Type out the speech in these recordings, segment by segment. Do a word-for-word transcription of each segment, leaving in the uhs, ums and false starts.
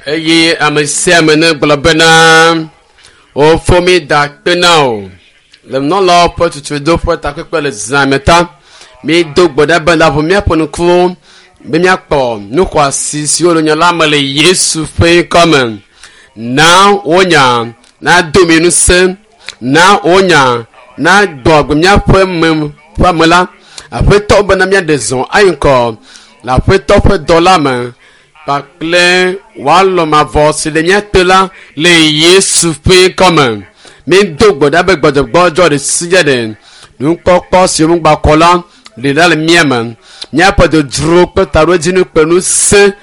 Eye ame sia ame ne gblɔ bena wofo mi da kpe na o le nunɔlawo ƒe tutuɖo ƒe takpekpe le zã me ta mi do gbe ɖa be la ʋu míaƒe ŋkuwo be míakpɔ nu xɔasi siwo le nya la me le Yesu ƒe ŋkɔ me. Na wonya nado mi ŋusẽ, na wonya nagbɔ agbe míaƒe me ƒe ame la. Aƒetɔ bena míaɖe zɔ ayi ŋgɔ le aƒetɔ ƒe dɔ la me kpakple wòalɔ mavɔ si le mía te la le Yesu ƒe ŋkɔ me. Mi do gbe ɖa be gbɔdzɔgbɔdzɔ ɖe sia ɖe nukpɔkpɔ si womegba kɔ la ɖe ɖa le mía me. Míaƒe dzodzro kple taɖodzinu kple ŋusẽ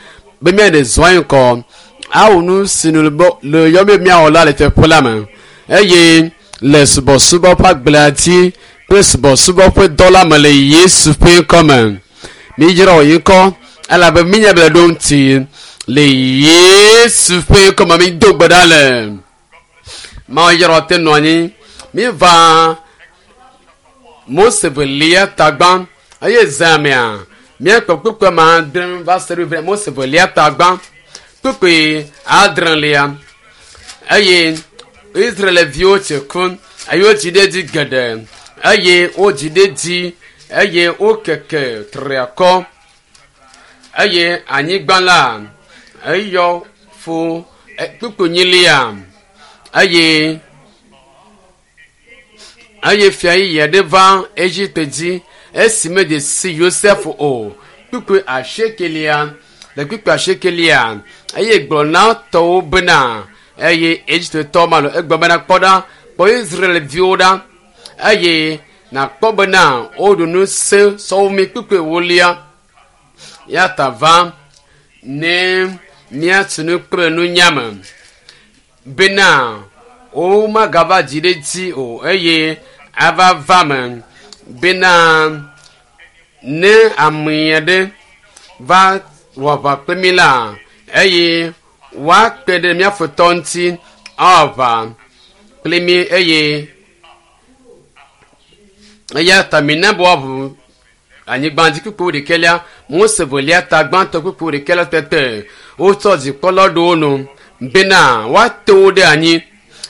be míaɖe zɔ ayi ŋgɔ awɔ nu si nu le yɔ be míawɔ la le teƒe la me eye le subɔsubɔ ƒe agblea dzi kple subɔsubɔ ƒe dɔ la me le Yesu ƒe ŋkɔ me. Mi yra wò ŋkɔ elabe mínya be le ɖo ŋuti le Yesu ƒe ŋkɔ me mi do gbe ɖa le. Mawu yra te nɔ anyi. Mi va Mose velia tagbã eye zã mea míakpɔ kpukpui ma adre va se ɖe Mose velia tagbã kpukpui adrelia eye Israelviwo tse ku eye wodzi ɖe edzi geɖe eye wodzi ɖe edzi eye wokeke triakɔ eye anyigba la eyɔ fo kpukpui nyilia eye eye fia yeye aɖe va Egipte dzi esi medze si Yosef o. Kpukpui asiekelia le kpukpui asiekelia eye gblɔ na tɔwo bena eye Egiptetɔ ma lo egblɔ bena kpɔ ɖa kpɔ Israelviwo ɖa eye nakpɔ bena woɖu nu sẽ sɔwo mi kpukpui ewolia ya ta va ne míatu nu kple nunya me bena womagava dzi ɖe dzi o eye ava va me bena ne ame aɖe va wɔ aʋa kple mi la eye woakpe ɖe mía futɔ ŋuti awɔ aʋa kple mi eye eya ta mina be woaʋu anyigba dzi kpukpu ɖekɛlia Mose velia ta gbãtɔ kpukpu ɖekɛlia tete wotsɔ dzikpɔla ɖo wo nu bena woate wo ɖe anyi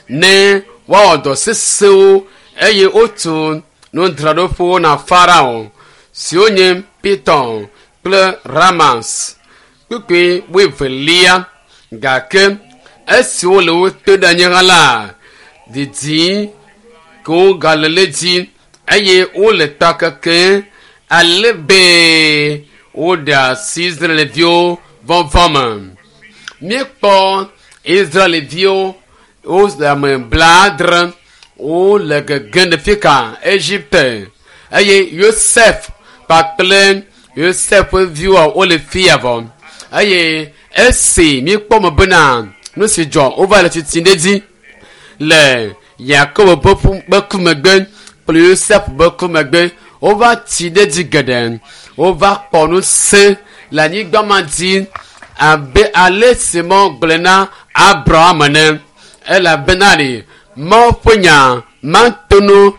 ne woawɔ dɔ sesẽwo eye wotu nudzraɖoƒewo na Farao siwo nye Piton kple Ramas kpukpui wuievelia gake esi wole wo te ɖe anyi hã la didi ke wogale le dzi eye wole ta keke ale be woɖe asi Israelviwo vɔvɔ me. Míekpɔ Israelviwo wole ame blaadre wole gegem ɖe fika Egipte eye Yosef kpakple Yosef ƒe viwoa wole fia vɔ eye esi míekpɔ me bena nu si dzɔ wova le tsitsim ɖe edzi le Yakobo ƒe ku megbe kple Yosef ƒe ku megbe wova tsi ɖe edzi geɖe wova kpɔ ŋusẽ le anyigba ma dzi abe ale si Mawu gblɔe na Abraham ene elabena ɖe Mawu ƒe nya mate ŋu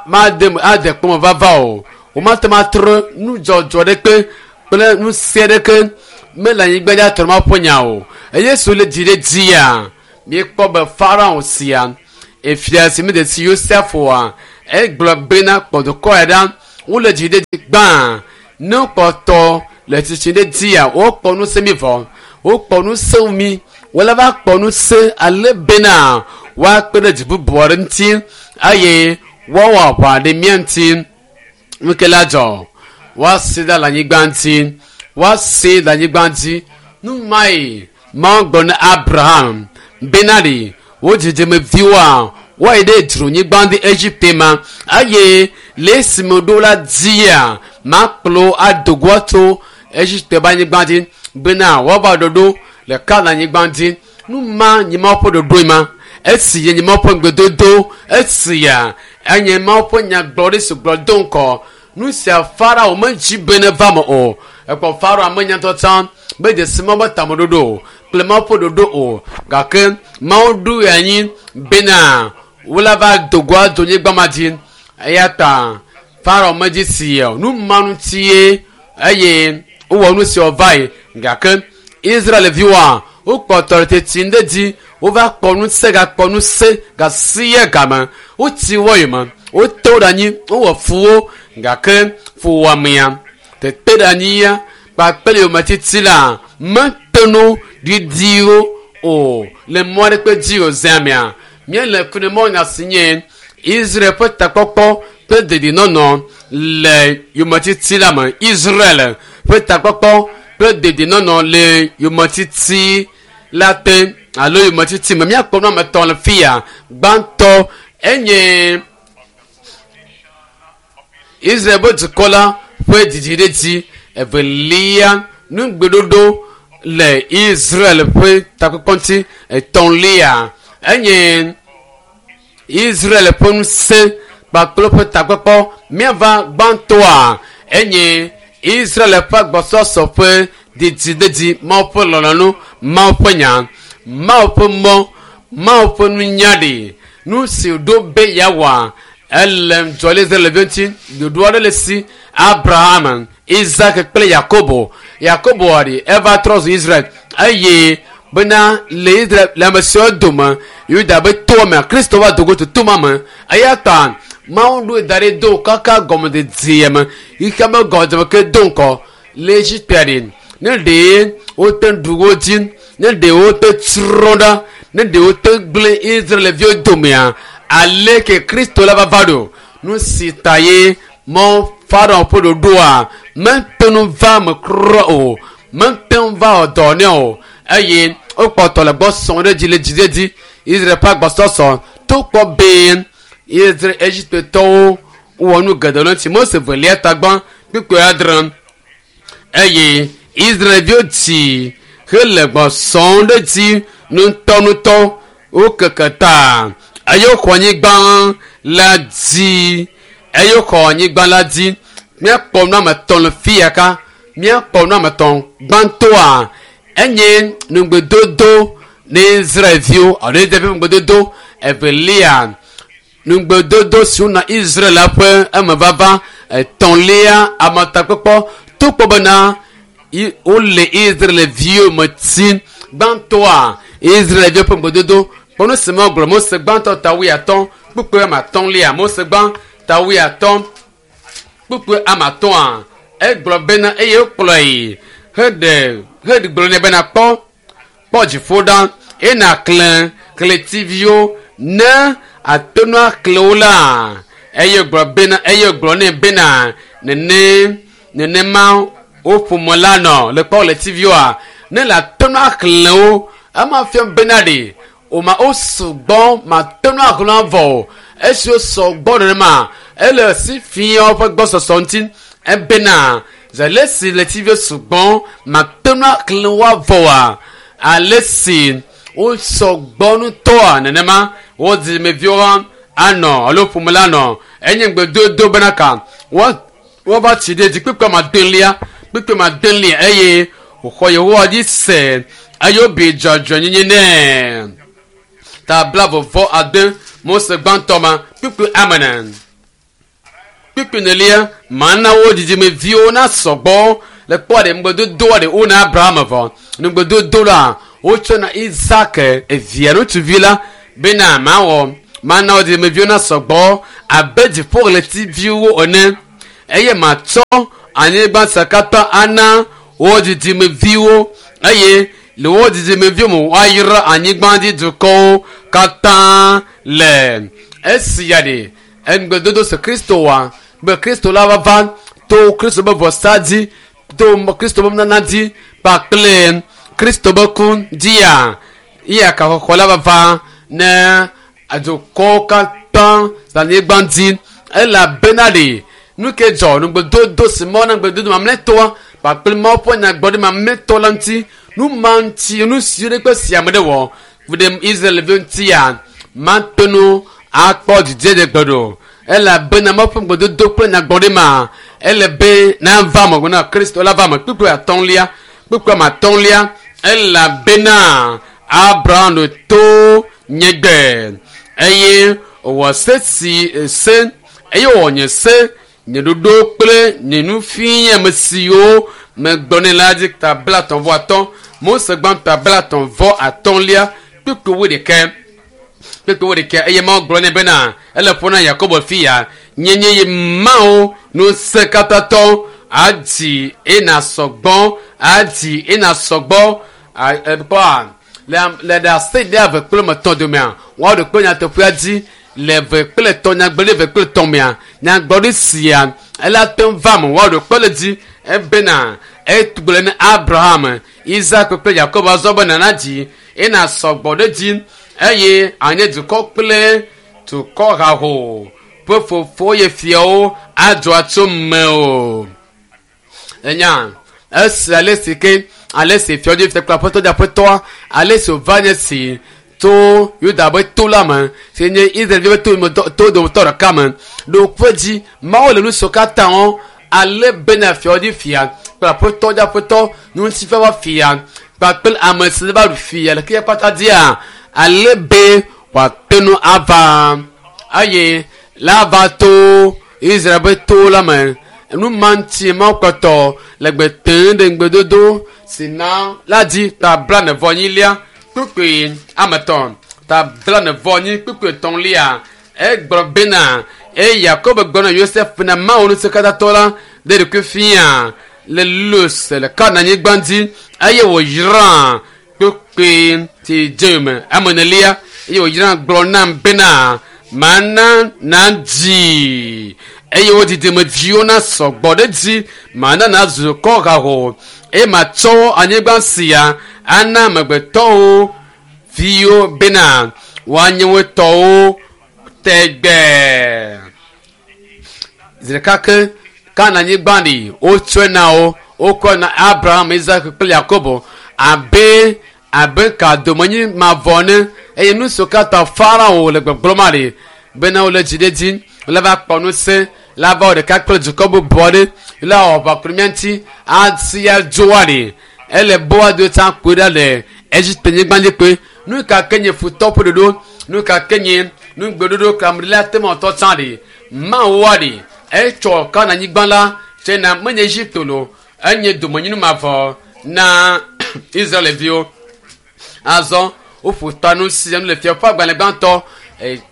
made ade kpɔme vava o womate ŋu atrɔ nudzɔdzɔ ɖeke kple ŋusẽ ɖeke mele anyigba dzi atrɔ Mawu ƒe nya o eye si wole dzi ɖe dzia míekpɔ be Farao sia efia si mede si Yosef oa egblɔ bena kpɔ dukɔ ya ɖa wole dzi ɖe dzi gbã ne wokpɔtɔ le tsitsi ɖe dzia wokpɔ ŋusẽ mi vɔ wokpɔ ŋusẽ mi wole va kpɔ ŋusẽ ale bena woakpe ɖe dzi bubu aɖe ŋuti eye woawɔ aʋa ɖe mía ŋuti nu ke la dzɔ woasi ɖe le anyigba ŋuti woasi le anyigba dzi nu mae Mawu gblɔ na Abraham bena ɖe wo dzidzimeviwoa woayi ɖe dzronyigba ɖe Egipte ma eye le esime ɖo la dzia makplɔ ado go tso Egipte ƒe anyigba dzi bena woava ɖoɖo le Kanaan anyigba dzi nu ma nye Mawu ƒe ɖoɖoe ma esi nye Mawu ƒe ŋugbedodo esia enye Mawu ƒe nyagblɔɖi si gblɔ do ŋgɔ nu sia Farao medzi be ne va me o ekpɔ Farao ame ŋutɔ tsã medze si Mawu ƒe tameɖoɖo o kple Mawu ƒe ɖoɖo o gake Mawu ɖoe anyi bena wola va do go ado nyigba ma dzi eya ta Farao medzi si o nu ma ŋutie eye wowɔ nu si wòva yi gake Israelviwoa Wokpɔtɔ le teti ɖe dzi. Wova kpɔ ŋusẽ gakpɔ ŋusẽ gasi game. Wotsi wɔ yome. Wote wo ɖe anyi. Wowɔ fu wo gake fuwɔamea tete ɖe anyia kpakple yometiti la mete nu didiwo o le mɔ aɖe kpe dzi o zea mea. Míele ku ɖe mɔ nya si nye Israel ƒe takpɔkpɔ kple dedinɔnɔ le yometiti la me. Israel ƒe takpɔkpɔ kple dedinɔnɔ le yometiti la te alo yometiti me. Míakpɔ nu ame etɔ̃ le fi ya. Gbãtɔ enye Israel ƒe dukɔ la ƒe dzidziɖedzi. Evelia, nugbeɖoɖo le Israel ƒe takpɔkpɔ ŋuti. Etɔ̃lia enye Israel ƒe ŋusẽ kpakple ƒe takpɔkpɔ. Míava gbãtɔa enye Israel ƒe agbɔsɔsɔ ƒe dzidziɖedzi. Mawu ƒe lɔlɔ̃nu, Mawu ƒe nya, Mawu ƒe mɔ, Mawu ƒe nunya ɖi. Nu si wòɖo be yeawɔa ele dzɔ le Israelviwo ŋuti. Ɖoɖo aɖe le si Abraham, Isaac kple Yakobo. Yakobo ɖi eva trɔ zu Israel eye bena le Israel le ame siwo dome Yuda be toa me Kristo va dogo to toma me. Eya ta Mawu ɖoe da ɖi do kaka gɔmededea me xexea me gɔmedzeme ke do ŋkɔ le Egipte ɖi. Ne ɖe wote ɖu wo dzi, ne ɖe wote tsrɔ̃ ɖa, ne ɖe wote gblẽ Israelviwo domea, aleke Kristo la va va ɖo? Nu si ta ye mɔ Farao ƒe ɖoɖoa mete ŋu va eme kura o, mete ŋu va wɔ dɔ nɛ o eye wokpɔtɔ le gbɔ sɔm ɖe dzi le dzidzedzi. Israel ƒe agbɔsɔsɔ to kpɔ be Israel Egiptetɔwo wɔ nu geɖe le ŋuti. Mose velia tagbã kpukpui adre eye Israelviwo dzi hele gbɔ sɔm ɖe dzi ŋutɔŋutɔ. Wokeke ta eye woxɔ anyigba la dzi eye woxɔ anyigba la dzi. Míakpɔ nu ame etɔ̃ le fi ya ka. Míakpɔ nu ame etɔ̃. Gbãtɔa enye nugbedodo ne Israelviwo alo Israel ƒe nugbedodo. Evelia, nugbedodo si wona Israel la ƒe emevava. Etɔ̃lia, ametakpɔkpɔ to kpɔ bena wole Israelviwo me tim. Gbãtɔa, Israelviwo ƒe nugbedodo. Kpɔ nu si megblɔ Mose gbãtɔ ta wuiatɔ̃ kpukpui ame atɔ̃lia. Mose gbã ta wuiatɔ̃ kpukpui ame atɔ̃a egblɔ bena eye wokplɔe heɖe heɖe nɛ bena kpɔ kpɔ dziƒo ɖa eye nàxlẽ ɣletiviwo ne ate ŋu axlẽ wo la. Eye gblɔ bena eye gblɔ nɛ bena nene nenema wo ƒome la nɔ le kpɔ ɣletiviwoa ne le ate ŋu axlẽ wo ema fia bena ɖe o ma wo sugbɔ mate ŋu axlẽ avɔ o. Esi wo sɔgbɔ nenema ele si fia woƒe gbɔsɔsɔ ŋuti ebena zele si ɣletiviwo sugbɔ mate ŋu axlẽ wo avɔ oa ale si wo sɔgbɔ ŋutɔa nenema wo dzidzimeviwo anɔ alo ƒome la nɔ. Enye ŋugbedodo bena ka woava tsi ɖe dzi kpukpui ame adelia kpukpui ame adelia eye wòxɔ Yehowa dzi se eye wobi dzɔdzɔenyenye nɛ. Ta blaeve ade Mose gbãtɔ ma kpukpui ame ene. Kpukpui enelia mana wo dzidzimeviwo nasɔgbɔ le kpɔ ɖe ŋugbedodoa ɖe wona Abraham vɔ. Ŋugbedodo la wotsɔ na Isaac evia ŋutsuvi la bena mawɔ mana wo dzidzimeviwo nasɔgbɔ abe dziƒoɣletiviwo ene eye matsɔ anyigba sia katã ana wo dzidzimeviwo eye le wo dzidzimeviwo me woayra anyigba dzi dukɔwo katã le. Esia ɖe ŋugbedodo si Kristo wɔ be Kristo la va va to Kristo ƒe vɔsa dzi to Kristo ƒe nunana dzi kpakple Kristo ƒe ku dzia eya kaxɔxɔ la va va ne dukɔwo katã le anyigba dzi elabena ɖe nu ke dzɔ nugbedodo si Mawu na ŋugbedodo mamlɛtɔa kpakple Mawu ƒe nyagblɔɖi mamlɛtɔ la ŋuti nu ma ŋuti nu siwo ɖe kpe si ame ɖe wɔ ku ɖe Israelviwo ŋutia mate ŋu akpɔ dzidzedze gbe ɖo elabena Mawu ƒe ŋugbedodo kple nyagblɔɖi ma ele be nava me na Kristo la va me. Kpukpui atɔ̃lia kpukpui ame atɔ̃lia elabena Abraham to nye gbe eye wòwɔ se si se eye wòwɔ nye se nye ɖoɖo kple nye nufiame siwo megblɔ nɛ la dzi ta blaetɔ̃ vɔ atɔ̃ Mose gbãtɔ blatɔ̃ vɔ atɔ̃lia kpukpui wuiɖekɛ kpukpui wuiɖekɛ eye Mawu gblɔ nɛ bena ele ƒo na Yakobo fia nyenye ye Mawu ŋusẽkatãtɔ adzi ena sɔgbɔ adzi ena sɔgbɔ kpɔa le le ɖase ɖe eve kple metɔ̃ domea woaɖo kpe nyateƒea dzi le eve kple etɔ̃ nyagblɔɖi eve kple etɔ̃ mea nyagblɔɖi sia ela te ŋu va me woaɖo kpe le dzi ebena egblɔ ne Abraham, Isaac kple Yakobo azɔ be nana dzi ena sɔgbɔ ɖe dzi eye anye dukɔ kple dukɔ haho ƒe fofo ye fiawo adzɔ atso me o. Enya esi ale si ke ale si fiɔdzi fia kple aƒetɔ dzi aƒetɔa ale si wòva nye si to Yuda be to la me si nye Israelvi be to me to dometɔ ɖeka me ɖo kpe dzi Mawu le nu siwo katã wɔm ale bena fiɔdzi fia kple aƒetɔ dzi aƒetɔ ŋutifafa fia kpakple ame si va ɖu fia le xexea kpata dzia ale be wòate ŋu ava eye la va to Israel be to la me nu ma ŋuti Mawu kpɔtɔ le gbe tem ɖe ŋugbedodo si na la dzi ta blaene vɔ enyilia kpukpui ame etɔ̃ ta blaene vɔ enyi kpukpui etɔ̃lia egblɔ bena eye Yakobo gblɔ na Yosef na Mawu ŋusẽkatãtɔ la ɖe ɖokui fia le Luz le Kananyigba dzi eye wòyra kpukpui si dze me ame enelia eye wòyra gblɔ nam bena mana nadzi eye wo didimedziwo na sɔgbɔ ɖe dzi mana nazu kɔ haho eye matsɔ anyigba sia ana amegbetɔwo viwo bena woanye wo tɔwo tegbee. Zi ɖeka ke Kananyigba ɖi wotsɔe na wo wokɔ na Abraham, Isaac kple Yakobo abe abe kadomenyi mavɔ ene eye nu siwo katã Farao le gbɔgblɔm aɖi bena wole dzi ɖe dzi wole va kpɔ ŋusẽ la va wɔ ɖeka kple dukɔ bubu aɖe la wɔ aʋa ku ɖe mía ŋuti asi adzo aɖi ele boa do tsã kpoe ɖa le Egipte nyigba dzi kpoe nu ka ke nye futɔ ƒe ɖoɖo nu ka ke nye nugbeɖoɖo kamɖila te me tɔ tsã ɖi Mawu aɖi etsɔ Kananyigba la tsena menye Egipte lo enye domenyinu mavɔ na Israelviwo azɔ woƒo ta nu sia nu le fia ƒe agbalẽ gbãtɔ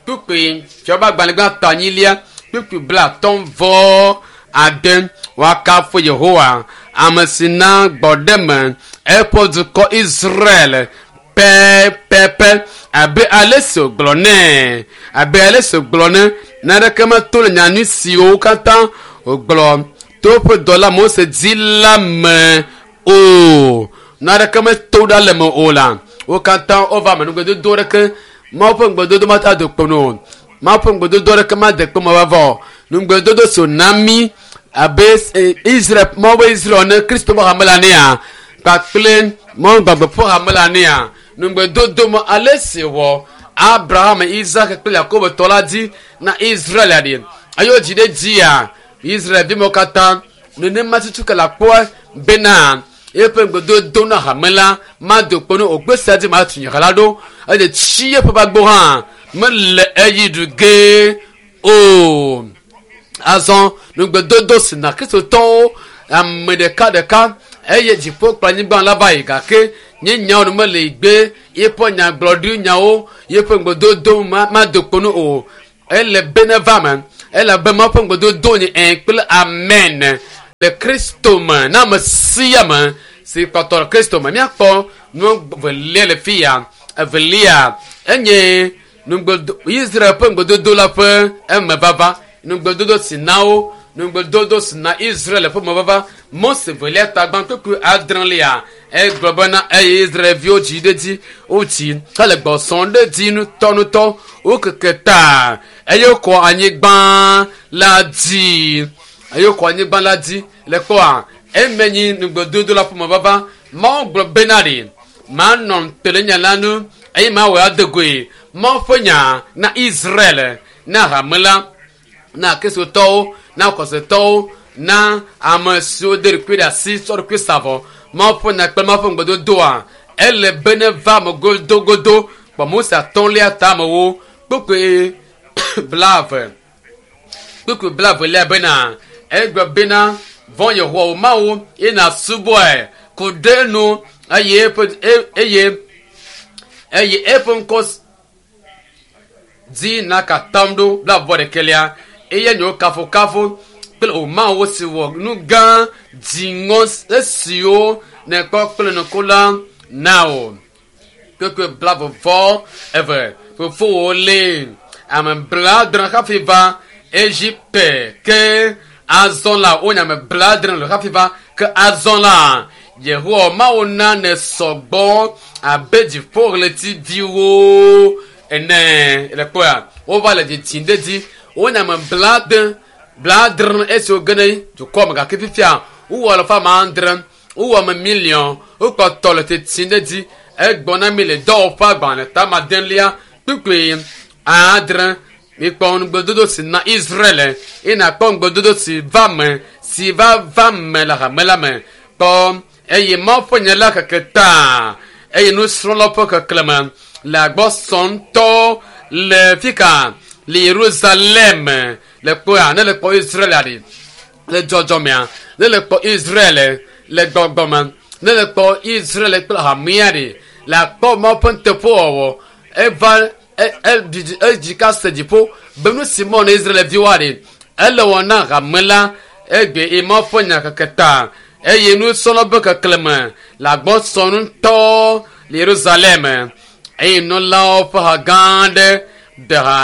kpukpui fia ƒe agbalẽ gbãtɔ anyilia kpukpui blatɔ̃ vɔ ade woakafu Yehowa ame si na gbɔɖeme eƒe dukɔ Israel pɛpɛpɛ abe ale si wògblɔ nɛ abe ale si wògblɔ nɛ naneke meto le nyanyui siwo katã wògblɔ to eƒe dɔla Mose dzi la me o naneke meto ɖa le me o la wo katã wova me nugbedodo ɖeke Mawu ƒe ŋugbedodo mate do kpo nu o Mawu ƒe ŋugbedodo ɖeke made kpo me vava o nugbedodo si wòna mí abe Israel Mawu be Israel ene Kristo ƒe hame la nea kpakple Mawu gbagbe ƒe hame la nea nugbedodo me ale si wɔ Abraham, Isaac kple Yakobo tɔ la dzi na Israel aɖi eye wodzi ɖe dzia Israel viwo katã nenema tutu ke le akpɔe bena eƒe ŋugbedodo na hame la mado kpo nu o gbe sia dzi matu nye ha la ɖo eye tsi eƒe gbagbo hã mele eyi ɖu ge o. Azɔ nugbedodo si na Kristotɔwo ame ɖeka ɖeka eye dziƒo kple anyigba la va yi gake nye nyawo nu mele gbe yeƒe nyagblɔɖi nyawo yeƒe ŋugbedodo mado kpo nu o ele be ne va me ele be Mawu ƒe ŋugbedodo nye ẽ kple amen le Kristo me na ame sia ame si kpɔtɔ le Kristo me míakpɔ nu evelia le fi ya evelia enye nugbedo Israel ƒe ŋugbedodo la ƒe emevava nugbedodo si na wo nugbedodo si na Israel ƒe mevava Mose velia ta gbã kpukpui adrelia egblɔ bena eye Israelviwo dzi ɖe dzi wotsi hele gbɔsɔm ɖe dzi ŋutɔŋutɔ wokeke ta eye wokɔ anyigba la dzi eye wokɔ anyigba la dzi le kpɔa eme nyi nugbedodo la ƒe mevava Mawu gblɔ bena ɖi manɔ te le nya la nu eye mawɔe ade goe Mawu ƒe nya na Israel na hame la na Kristotɔwo na xɔsetɔwo na ame siwo de ɖokui ɖe asi tsɔ ɖokui sa vɔ Mawu ƒe nya kple Mawu ƒe ŋugbedodoa ele be ne va me godogodo kpɔ Mose atɔ̃lia tamewo kpukpui blaeve kpukpui blaevelia bena egblɔ bena vɔ̃ Yehowa wò Mawu ye nàsubɔe ku ɖe enu eye eƒe eye eye eƒe ŋkɔ dzi nakatam ɖo blaeve ɖekɛlia eye nye wo kafukafu kple o Mawu si wɔ nu gã dziŋɔ esiwo nèkpɔ kple nuku la na o. Kpekpe blaeve vɔ eve fofowo lé ame blaadre hafi va Egipte ke azɔ la wonye ame blaadre le hafi va ke azɔ la Yehowa Mawu na ne sɔgbɔ abe dziƒoɣletiviwo ene le kpɔa wova le dzidzim ɖe dzi wonye ame blaade blaadre esiwo ge ɖe dukɔ me gake fifia wowɔ alafa ame adre wowɔ ame miliɔn wokpɔtɔ le tsitsim ɖe dzi egbɔ na mi le dɔwɔƒe agbalẽ tama adelia kpukpui adre mikpɔ ŋugbedodo si na Israel eye nakpɔ ŋugbedodo si va me si va va me le hame la me kpɔ eye Mawu ƒe nya la keke ta eye nusrɔ̃lawo ƒe keklẽme le agbɔsɔ ŋutɔ le fika le Yerusalem le kpɔa ne le kpɔ Israel ɖi le dzɔdzɔmea ne le kpɔ Israel le gbɔgbɔme ne le kpɔ Israel kple hamea ɖi le akpɔ Mawu ƒe nuteƒewɔwɔ eva edzi ka se dziƒo be nu si mɔ na Israelviwoa ɖi ele wɔ na hame la egbe ye Mawu ƒe nya keke ta eye nusrɔ̃lawo ƒe keklẽme le agbɔsɔ ŋutɔ le Yerusalem eye nunɔlawo ƒe ha gã aɖe de ha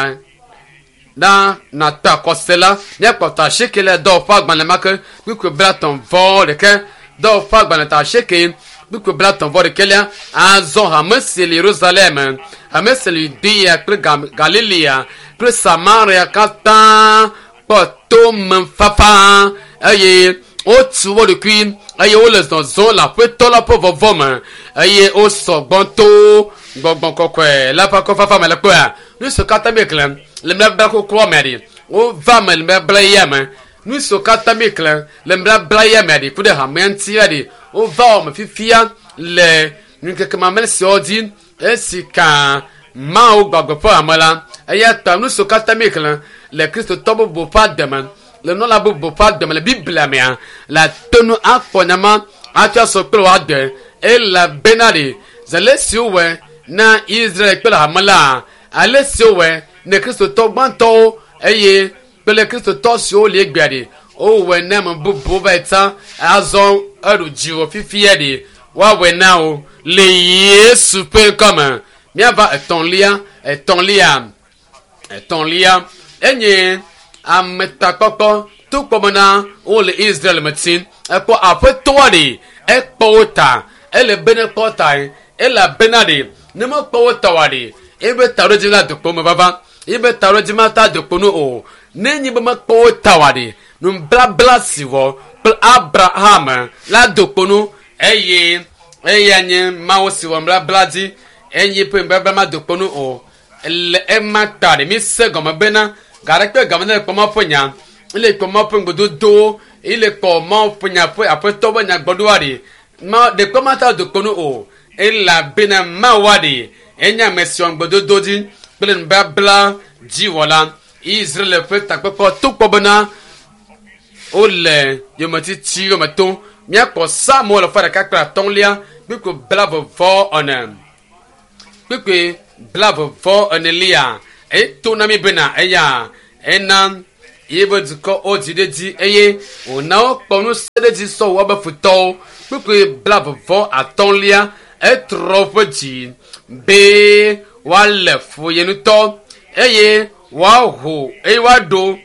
na nata kɔse la míakpɔtɔ asieke le dɔwɔƒe agbalẽ ma ke kpukpui blaetɔ̃ vɔ ɖeke dɔwɔƒe agbalẽ ta asieke kpukpui blaetɔ̃ vɔ ɖekɛlia azɔ hame si le Yerusalem hame si le Yudea kple Galilea kple Samaria katã kpɔ tomefafa eye wotu wo ɖokui eye wole zɔzɔm le aƒetɔ la ƒe vɔvɔ me eye wosɔgbɔ to gbɔgbɔ kɔkɔe la ƒe akɔfafa me le kpɔa nu siwo katã mi xlẽ le nubabla xoxoa me ɖi wova me le nubabla yeyea me nu siwo katã mi xlẽ le nubabla yeyea me ɖi ku ɖe hamea ŋuti la ɖi wova wɔ me fifia le ŋkeke mamlɛ siawo dzi esi ka Mawu gbagbe ƒe hame la eya ta nu siwo katã mi xlẽ le kristotɔ bubu ƒe ademe le nunɔla bubu ƒe ademe le Biblia mea le ate nu akpɔ nyama atsɔ asɔ kple wò ade elabena ɖi zele si wowɔe na Israel kple hame la ale si wowɔe ne kristotɔ gbãtɔwo eye kple kristotɔ siwo li egbea ɖi wowɔe na ame bubuwo va yi tsã azɔ eɖu dziwò fifia ɖi woawɔe na wo le Yesu ƒe ŋkɔme míava etɔ̃lia etɔ̃lia etɔ̃lia enye ametakpɔkpɔ to bena wole Israel me tsim ekpɔ aƒetɔa ɖi ekpɔ wo ta ele be ne kpɔ ta elabena ɖi ne mekpɔ wo ta oa ɖi ebe taɖodzi la dokpo me vava ebe taɖodzi ma ta dokpo nu o ne nyi be mekpɔ wo ta oa ɖi nublabla si wɔ kple Abraham la dokpo nu eye eya nye Mawu si wɔ nublabla dzi eye ƒe nublabla ma dokpo nu o le ema ta ɖi mi se gɔme bena gaɖe game ne le kpɔ Mawu ƒe nya ele kpɔ Mawu ƒe ŋugbedodowo ele kpɔ Mawu ƒe nya ƒe aƒetɔ ƒe nyagbɔɖoa ɖi ma ɖekpe ma ta dokpo nu o elabena Mawua ɖi enye ame si wɔ ŋugbedodo dzi kple nubabla dziwɔla Israel ƒe takpekpe to kpɔ bena wole yometiti yome tom míakpɔ Psalmo alafa ɖeka kple atɔ̃lia kpukpui blaeve vɔ ene kpukpui blaeve vɔ enelia eto na mi bena eya ena yebe dukɔ wodzi ɖe dzi eye wòna wokpɔ ŋusẽ ɖe dzi sɔ woabe futɔwo kpukpui blaeve vɔ atɔ̃lia etrɔ woƒe dzi be woalé fu ye ŋutɔ eye woaho eye woaɖo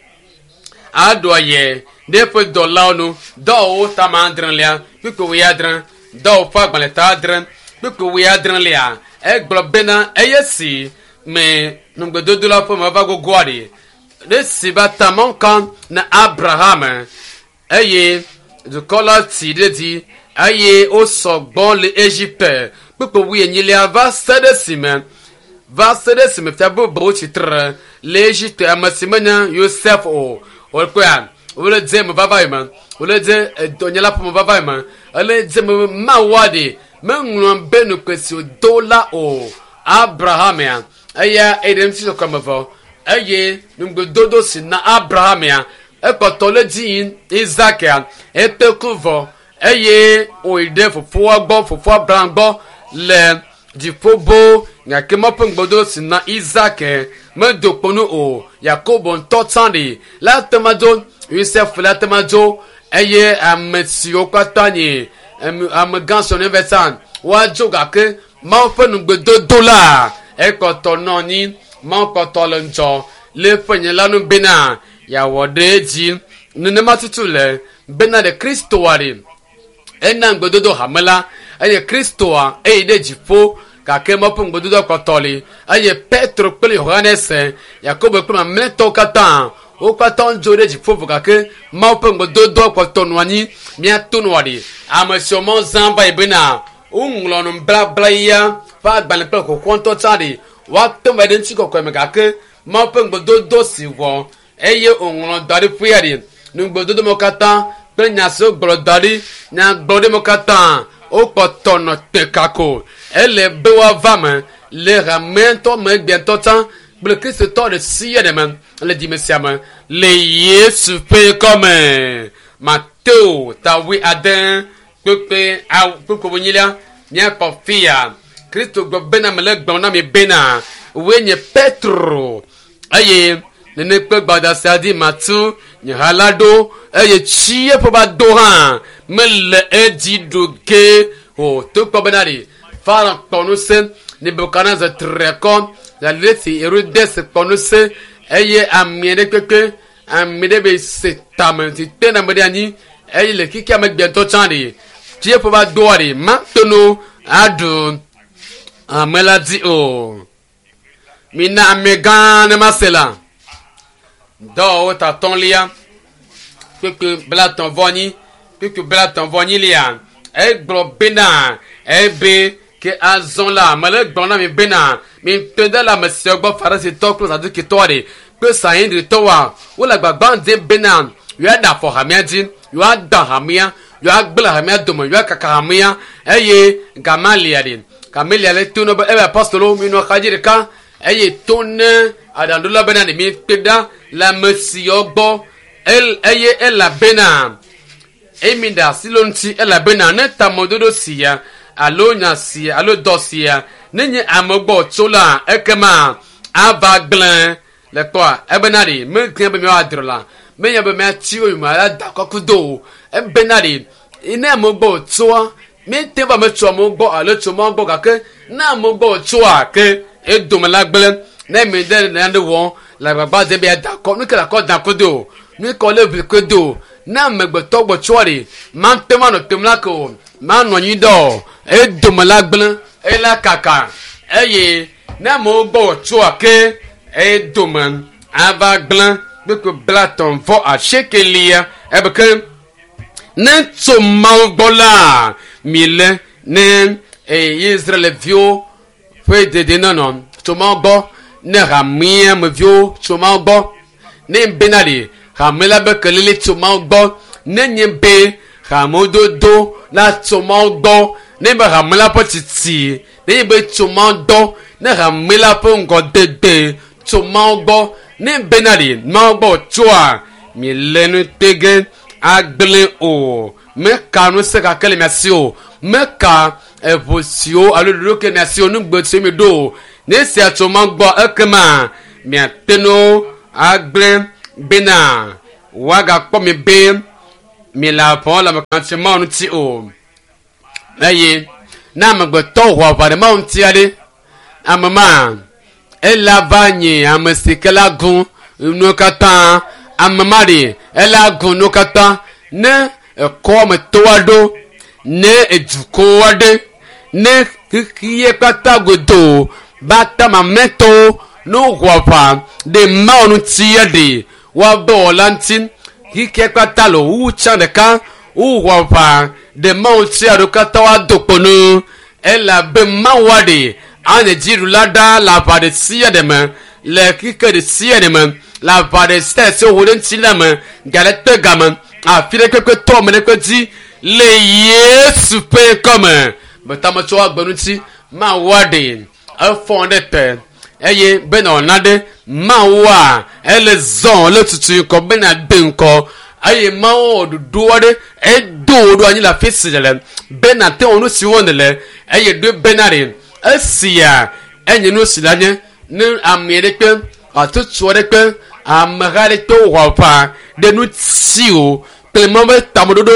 aɖo aye ɖe eƒe dɔlawo nu dɔwɔwɔ tama adrelia kpukpui wuiadre dɔwɔƒe agbalẽ ta adre kpukpui wuiadrelia egblɔ bena eye si me ŋugbedodo la ƒe me va gogoa ɖi ɖe si va ta Mawu ka na Abraham eye dukɔ la tsi ɖe dzi eye wosɔ gbɔ le Egipte kpukpui wuienyilia va se ɖe esime va se ɖe esime fia bubuwo tsitre le Egipte ame si menye Yosef o wokpɔa wole dze me vava yi me wole dze edɔnyala ƒe me vava yi me ele dze me Mawua ɖi meŋlɔ be nukpe si wòdo la o Abraham ya eya eɖe ŋuti sɔkɔme vɔ eye ŋugbedodo si na Abraham ya ekpɔtɔ le dzi yim Isaac ya ete ku vɔ Eye wòyi ɖe fofoa gbɔ, fofoa Abraham gbɔ le dziƒo bo gake Mawu ƒe ŋugbedodo si na Isak medo kpo nu o. Yakobo ŋutɔ tsã ɖi la te ma dzo, Yosef la te ma dzo eye ame siwo katã nye amegã siwo ne va tsã woadzo gake Mawu ƒe ŋugbedodo la ekpɔtɔ nɔ anyi. Mawu kpɔtɔ le ŋudzɔ le eƒe nye la nu bena yeawɔ ɖe edzi. Nenema tutu le bena ɖe Kristoa ɖi ena ŋugbedodo hame la eye Kristoa eyi ɖe dziƒo gake Mawu ƒe ŋugbedodo kpɔtɔ li eye Petro kple Yohanes, Yakobo kple mamlɛtɔwo katã wo katã dzo ɖe dziƒo vɔ gake Mawu ƒe ŋugbedodo kpɔtɔ nɔ anyi. Míato nua ɖi ame siwo Mawu zã va yi bena woŋlɔ nublabla ya ƒe agbalẽ kple xoxoa ŋutɔ tsã ɖi woate ŋu va ɖe ŋutikɔkɔe me gake Mawu ƒe ŋugbedodo si wɔ eye wòŋlɔ da ɖi ƒea ɖi ŋugbedodo me katã kple nya siwo gblɔ da ɖi nyagblɔɖi me katã wokpɔtɔ nɔ te kako ele be woava me le hameŋutɔ me egbea tsã kple kristotɔ ɖe sia ɖe me le dzime sia me le Yesu ƒe ŋkɔme. Mateo ta wui ade kpekpe awu kpekpe wonyilia míakpɔ fia Kristo gblɔ bena mele gblɔm na mi bena woe nye Petro eye nene kpe gbada sia dzi matu nye ha la ɖo eye tsi eƒe va do hã mele edzi ɖo ge o. Togbɔ bena ɖi Farao kpɔ ŋusẽ, Nebukadnezar tri akɔ, Alesi Herodes kpɔ ŋusẽ eye ame ɖe kpekpe ame ɖe be se tame si te na ame ɖe anyi eye le xexea me gbetɔ tsã ɖi tsi eƒe va doa ɖi mate ŋu aɖu ame la dzi o. Mina ame gã ne ma se la. Dɔwɔwɔ ta atɔ̃lia kpekpe blatɔ̃ vɔ anyi kpekpe blatɔ̃ vɔ anyi lia egblɔ bena ebe ke azɔ la mele gblɔ na mi bena mi te ɖe le ame siawo gbɔ Farisitɔ kple Zadukitɔ ɖe kple Sanhedritɔwoa wole agbagba dzem bena yewoaɖe afɔ hamea dzi yewoada hamea yewoagblẽ hamea dome yewoakaka hamea eye Gamalia ɖe Gamalia le to ne be ebe apostolowo mi nɔ axadzi ɖeka eye to ne aɖaŋuɖola bena ɖe mi kpe ɖa le ame siawo gbɔ el eye elabena emi ɖe asi le wo ŋuti elabena ne tameɖoɖo sia alo nya sia alo dɔ sia ne nye ame gbɔ tso la ekema ava gblẽ le kpɔa ebena ɖi megblẽ be míawoadrɔ la menye be míatsi wo yome ada kɔku do o ebena ɖi ne ame gbɔ tsoa míete va metso amewo gbɔ alo tso mawo gbɔ gake ne ame gbɔ tsoa ke edome la gblẽ ne mi ɖe nane wɔm le agbagba dzem be yeada akɔ nu ke le akɔ da kodo o nu ke le ʋli kodo o ne amegbetɔ gbɔ tsoa ɖi mate ŋu anɔ tem la ke o manɔ anyi ɖe o edome la gblẽ ela kaka eye ne amewo gbɔ tsoa ke edome ava gblẽ kpekpe blatɔ̃ vɔ asiekelia ebe ke ne tso Mawu gbɔ la mi le ne Israelviwo ƒe dedienɔnɔ tso Mawu gbɔ ne hamea me viwo tso Mawu gbɔ ne bena ɖi hame la be kelele tso Mawu gbɔ ne nye be hamedodo la tso Mawu gbɔ ne be hame la ƒe tsitsi ne nye be tso Mawu gbɔ ne hame la ƒe ŋgɔdede tso Mawu gbɔ ne bena ɖi Mawu gbɔ tsoa mi le nu tege agblẽ o meka ŋusẽ gake le mia si o meka eʋu siwo alo ɖoɖo ke mia si o nugbe siwo mi ɖo o ne sia tso Mawu gbɔ ekema miate ŋu agblẽ bena woagakpɔ mi be mi le aʋa le ame Mawu ŋuti o eye ne amegbetɔ wɔ aʋa ɖe Mawu ŋuti aɖe ame ma ela va nye ame si ke la gu nuwo katã ame ma ɖi ela gu nuwo katã ne ekɔ me to aɖo ne edukɔ aɖe ne xexea katã godoo ba ta mamlɛtɔwo ne wowɔ aʋa ɖe Mawu ŋuti aɖe woabe wɔla ŋuti xexea katã le wu tsã ɖeka wowɔ aʋa ɖe Mawu ŋuti aɖewo katã woado kpo nu elabe Mawu aɖe anye dziɖula ɖa le aʋa ɖe sia ɖe me le xexe ɖe sia ɖe me le aʋa ɖe sia ɖe si woho ɖe ŋuti la me ga ɖe kpe game afi ɖe kpekpe tɔ ame ɖe kpe dzi le Yesu ƒe ŋkɔme betametso agbe ŋuti Mawu aɖe efɔ ɖe te eye bena wòna ɖe Mawua ele zɔ le tutu ŋkɔ bena de ŋkɔ Eye Mawu wɔ ɖoɖo aɖe edo wò ɖo anyi le afi si nèle be nàte wɔ nu si wɔm nèle eye ɖoe bena ɖe esia enye nu si la nye ne ame aɖe kpe hatsotso aɖe kpe ameha aɖe kpe wɔ aʋa ɖe ŋuti o kple Mawu ƒe tameɖoɖo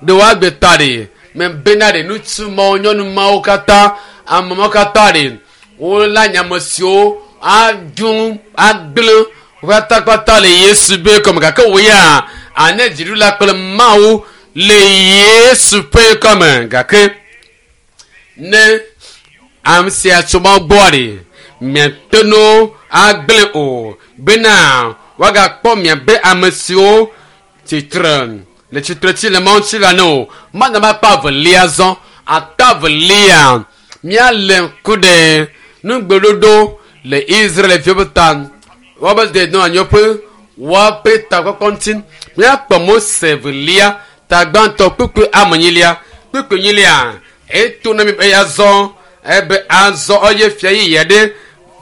ɖe woagbe ta ɖe me bena ɖe ŋutsu mawo nyɔnu mawo katã ame mawo katã ɖe wola nye ame siwo aɖu agblẽ kpatakpata le Yesu ƒe kɔme gake wò ya anye dziɖula kple Mawu le Yesu ƒe kɔme gake ne ame sia tso Mawu gbɔa ɖe miate ŋu agblẽ o bena woagakpɔ miabe ame siwo tsitre le tsitre tsi le Mawu ŋuti la ne o. Mana makpa evelia zɔ ata evelia míale ŋku ɖe nugbeɖoɖo le Israelviwo ƒe ta woabe dednɔ anyi ƒe woaƒe takpɔkpɔ ŋuti. Míakpɔ Mose evelia ta gbãtɔ kpukpui amenyilia kpukpui nyilia eto na mi be azɔ ebe azɔ eye fia yeye aɖe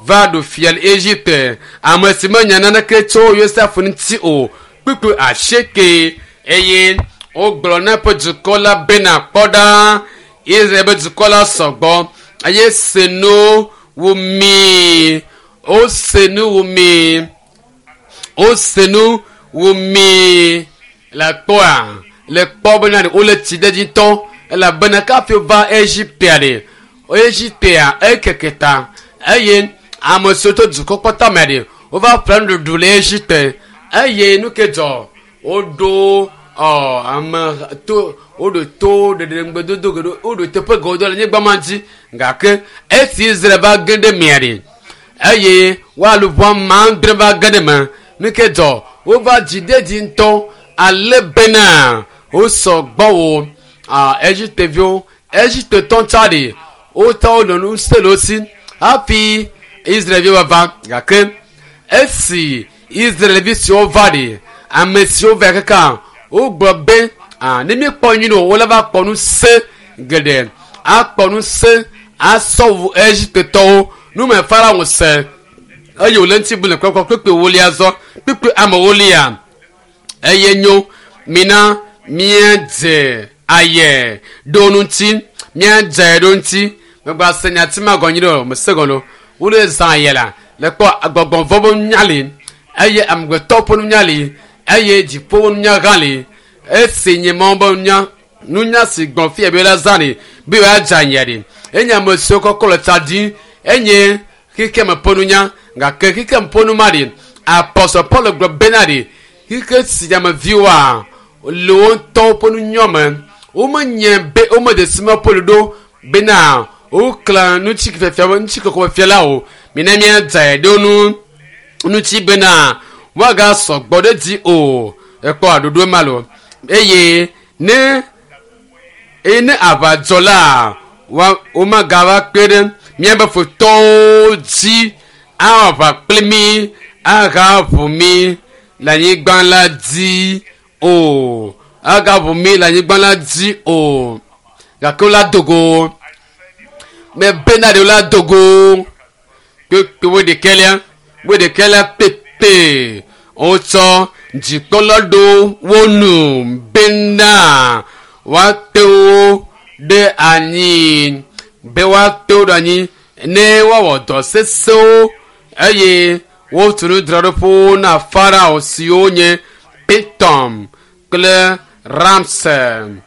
va ɖu fia le Egipte ame si menya naneke tso Yosef ŋuti o kpukpui asieke eye wogblɔ na eƒe dukɔ la bena kpɔ ɖa Israel ƒe dukɔ la sɔgbɔ eye se nu wu mi wose nu wu mi wose nu wu mi le kpɔa le kpɔ bena ɖe wole tsi ɖe dzi ŋutɔ elabena kafi va Egiptea ɖe Egiptea ekeke ta eye ame siwo tso dukɔ kpɔtɔ me ɖe wova ƒle nuɖuɖu le Egipte eye nu ke dzɔ woɖo ɔ ame to woɖo to ɖeɖe ŋgbedodo geɖe woɖo teƒe geɖewo le anyigba ma dzi gake esi Israel va ge ɖe mea ɖe eye woaluʋɔ ame adre va ge ɖe me nu ke dzɔ wova dzi ɖe dzi ŋutɔ ale bena wosɔ gbɔ wo a Egipteviwo Egiptetɔ tsa ɖe wotɔ wonɔ nu se le wo si hafi Israelviwo va gake esi Israelvi siwo va ɖe ame siwo va kaka wogblɔ be a ne míekpɔ nyui o wole va kpɔ nu se geɖe akpɔ nu se asɔ wu Egiptetɔwo nume Farao se eye wòle ŋuti bu le kpɔkpɔ kpekpe wolia zɔ kpekpe ame wolia eye nyo mina míadze aye ɖo ŋuti míadze aye ɖo ŋuti megba se nyati ma gɔnyi ɖe o mese gɔn o wole zã aye la le kpɔ gbɔgbɔ vɔ ƒe nunya li eye amegbetɔ ƒe nunya li eye dziƒo ƒe nunya hã li esi nye Mawu ƒe nunya nunya si gbɔn fia be la zã ɖi be yewoadze aye ɖi enye ame siwo kɔkɔ le tsa dzi enye xexeme ƒe nunya gake xexeme ƒe numa ɖi apɔsɔ Paul gblɔ bena ɖi xexe si ameviwoa le wo ŋutɔwo ƒe nunya me womenye be womede si me Paul ɖo bena woklã ŋutikɔkɔefia ŋutikɔkɔefia la o mina míadze ɖe nu ŋuti bena woagasɔ gbɔ ɖe dzi o ekpɔ aɖoɖo ma lo eye ne eye ne aʋa dzɔ la wa womagava kpe ɖe míaƒe futɔwo dzi awɔ aʋa kpli mí ahaʋu mí le anyigba la dzi o agaʋu mí le anyigba la dzi o gake wola dogo mebena ɖe wola dogo kpekpe wo ɖekɛlia wo ɖekɛlia pépé wotsɔ dzikpɔla ɖo wo nu bena woate wo ɖe anyi be woate wo ɖe anyi ne woawɔ dɔ sesẽwo eye wotu nudzraɖoƒewo na Farao siwo nye Pitom kple Ramse.